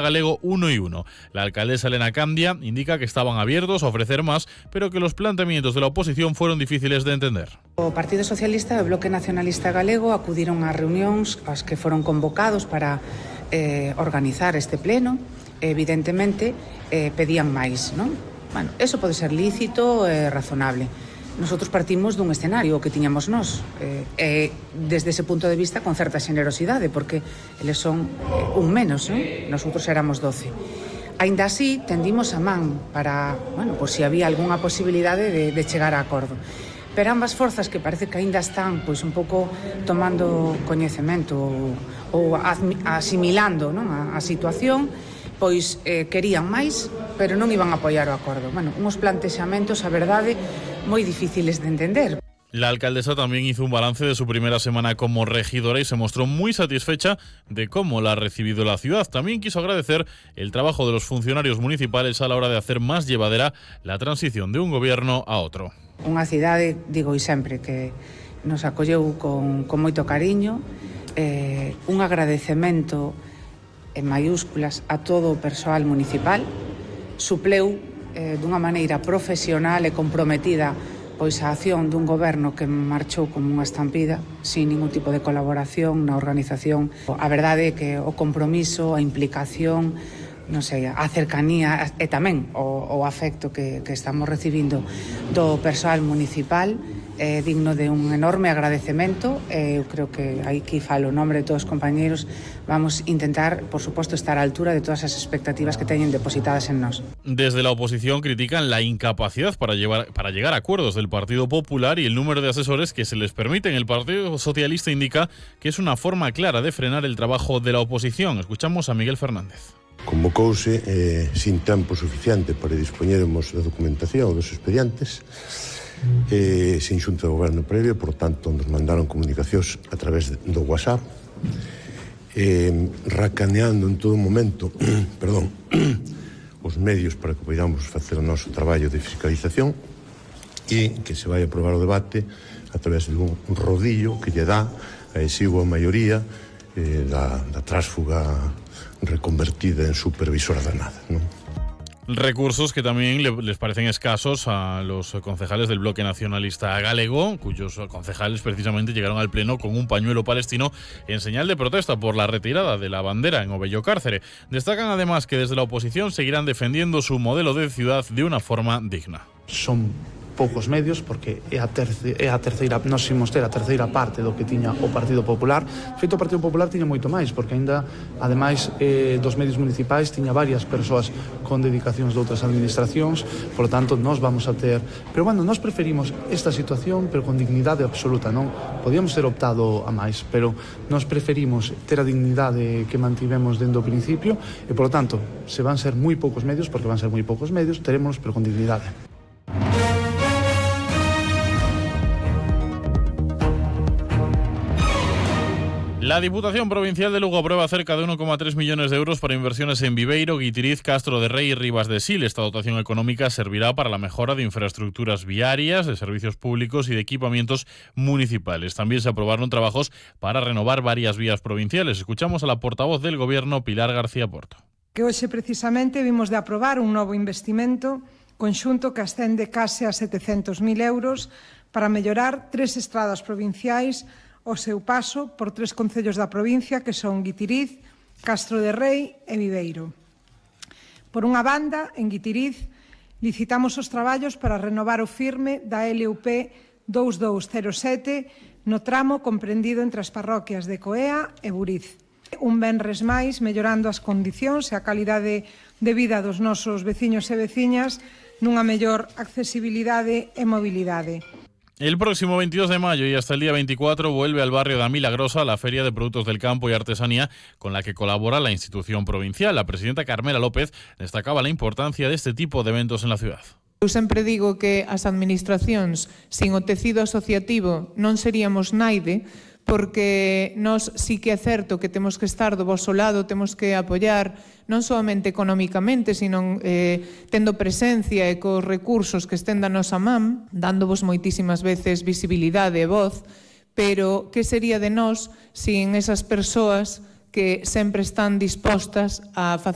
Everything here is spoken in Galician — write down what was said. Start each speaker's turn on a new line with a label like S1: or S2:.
S1: Galego 1 y 1. La alcaldesa Elena Candia indica que estaban abiertos a ofrecer más, pero que los planteamientos de la oposición fueron difíciles de entender.
S2: O Partido Socialista e o Bloque Nacionalista Galego acudiron a reunións as que foron convocados para organizar este pleno. Evidentemente pedían máis, non? Bueno, eso pode ser lícito e razonable. Nosotros partimos dun escenario que tiñamos nós, desde ese punto de vista con certa xenerosidade, porque eles son un menos, non? Nosotros éramos 12. Aínda así, tendimos a man para, bueno, por si había algunha posibilidade de chegar a acordo. Pero ambas forzas que parece que aínda están pois un pouco tomando coñecemento ou asimilando, non, a situación, pois querían máis, pero non iban a apoiar o acordo. Bueno, uns plantexamentos, a verdade, moi difíciles de entender.
S1: La alcaldesa también hizo un balance de su primera semana como regidora y se mostró muy satisfecha de cómo la ha recibido la ciudad. También quiso agradecer el trabajo de los funcionarios municipales a la hora de hacer más llevadera la transición de un gobierno a otro.
S2: Unha cidade, digo e sempre, que nos acolleu con moito cariño, un agradecemento en maiúsculas a todo o persoal municipal, supleu dunha maneira profesional e comprometida pois a acción dun goberno que marchou como unha estampida, sin ningún tipo de colaboración na organización. A verdade é que o compromiso, a implicación, non sei, a cercanía e tamén o afecto que estamos recibindo do persoal municipal é digno de un enorme agradecemento. Eu creo que aquí falo o nombre de todos os compañeiros. Vamos a intentar, por suposto, estar á altura de todas as expectativas que teñen depositadas en nós.
S1: Desde la oposición critican la incapacidad para llegar a acuerdos del Partido Popular y el número de asesores que se les permiten. El Partido Socialista indica que es una forma clara de frenar el trabajo de la oposición. Escuchamos a Miguel Fernández.
S3: Convocouse sin tempo suficiente para dispoñermos da documentación dos expedientes, sin xunta de goberno previa, por tanto nos mandaron comunicacións a través do WhatsApp, racaneando en todo momento os medios para que podamos facer o noso traballo de fiscalización e que se vai aprobar o debate a través dun rodillo que lle dá a exigua maioría da tránsfuga reconvertida en supervisora de nada, ¿no?
S1: Recursos que también les parecen escasos a los concejales del Bloque Nacionalista Galego, cuyos concejales precisamente llegaron al pleno con un pañuelo palestino en señal de protesta por la retirada de la bandera en Obello Cárcere. Destacan además que desde la oposición seguirán defendiendo su modelo de ciudad de una forma digna.
S4: Son poucos medios, porque é a terceira, nós imos ter a terceira parte do que tiña o Partido Popular. Feito, o Partido Popular tiña moito máis, porque aínda, ademais dos medios municipais, tiña varias persoas con dedicacións de outras administracións, por tanto, nós vamos a ter... Pero, bueno, nós preferimos esta situación, pero con dignidade absoluta, non? Podíamos ter optado a máis, pero nós preferimos ter a dignidade que mantivemos dende o principio, e, por tanto, se van ser moi poucos medios, porque van ser moi poucos medios, terémonos, pero con dignidade.
S1: La Diputación Provincial de Lugo aprueba cerca de 1,3 millones de euros para inversiones en Viveiro, Guitiriz, Castro de Rei y Ribas de Sil. Esta dotación económica servirá para la mejora de infraestructuras viarias, de servicios públicos y de equipamientos municipales. También se aprobaron trabajos para renovar varias vías provinciales. Escuchamos a la portavoz del Gobierno, Pilar García Porto.
S5: Que hoxe precisamente vimos de aprobar un novo investimento conxunto que ascende case a 700.000 euros para mellorar 3 estradas provinciais o seu paso por 3 concellos da provincia que son Guitiriz, Castro de Rei e Viveiro. Por unha banda, en Guitiriz, licitamos os traballos para renovar o firme da LUP 2207 no tramo comprendido entre as parroquias de Coea e Buriz. Un venres máis, mellorando as condicións e a calidade de vida dos nosos veciños e veciñas nunha mellor accesibilidade e mobilidade.
S1: El próximo 22 de mayo y hasta el día 24 vuelve al barrio de Milagrosa la Feria de Productos del Campo y Artesanía con la que colabora la institución provincial. La presidenta Carmela López destacaba la importancia de este tipo de eventos en la ciudad.
S6: Eu sempre digo que as administracións sin o tecido asociativo non seríamos naide, porque nós sí que é certo que temos que estar do voso lado, temos que apoiar non solamente económicamente, sino tendo presencia e cos recursos que estén da nosa man, dándovos moitísimas veces visibilidade e voz, pero que sería de nós sin esas persoas que sempre están dispostas a facer